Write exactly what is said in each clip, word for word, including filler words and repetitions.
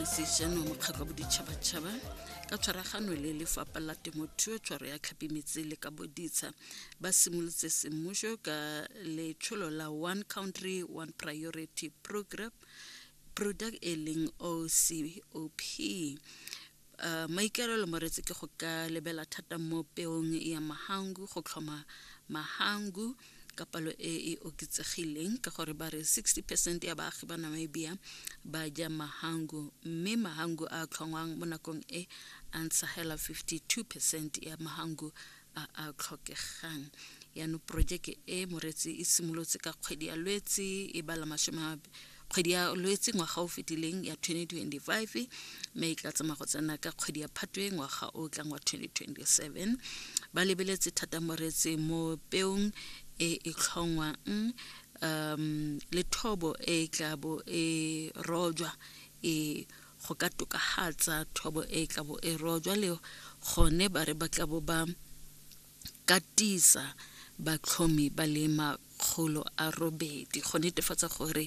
Organisation wa mokgatlho wa boditšhabatšhaba ka tshwaragano le lefapha la temothuo, tshwaro ya tlhapi, metsi le ka boditsha ba simolotse semmušo ka letsholo la One Country One Priority Program product e leng O C O P. Uh, maikaelelo moretsi ke go ka lebela thata mo peong ya mahangu, go tlhoma mahangu ka palo e e oketsegileng, ka gore ba re sixty percent ya baagi ba Namibia ba ja mahangu, mme mahangu a tlhongwang mo nakong e a ntsha hela fifty-two percent ya mahangu a a tlhokegang. Yaanong porojeke e moretsi e simolotse ka kgwedi ya Lwetse e bala masome, kgwedi ya Lwetse ngwaga o fetileng ya twenty twenty-five, mme e tla tsamaya go tsena ka kgwedi ya Phatwe ngwaga o tlang wa twenty twenty-seven. Ba lebeletse thata moretsi mo peong e e tlhongwang um le thobo e tla bo e rojwa, e go ka tokafatsa thobo e tla bo e rojwa, le gone ba re ba tla bo ba katisa batlhomi ba le makgolo a robedi go netefatsa gore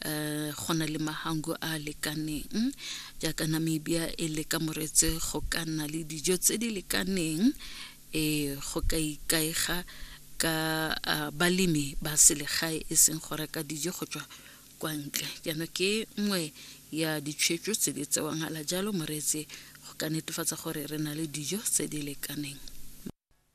um go na le mahangu a lekaneng, jaaka Namibia e leka moretse go ka nna le dijo tse di lekaneng, e go ka ikaega ka uh, balemi ba selegae, e seng go reka dijo go tswa kwa ntle. Jaanong ke nngwe ya ditshwetso tse di tsewang hala jalo moreetsi, go ka netefatsa gore re na le dijo tse di lekaneng.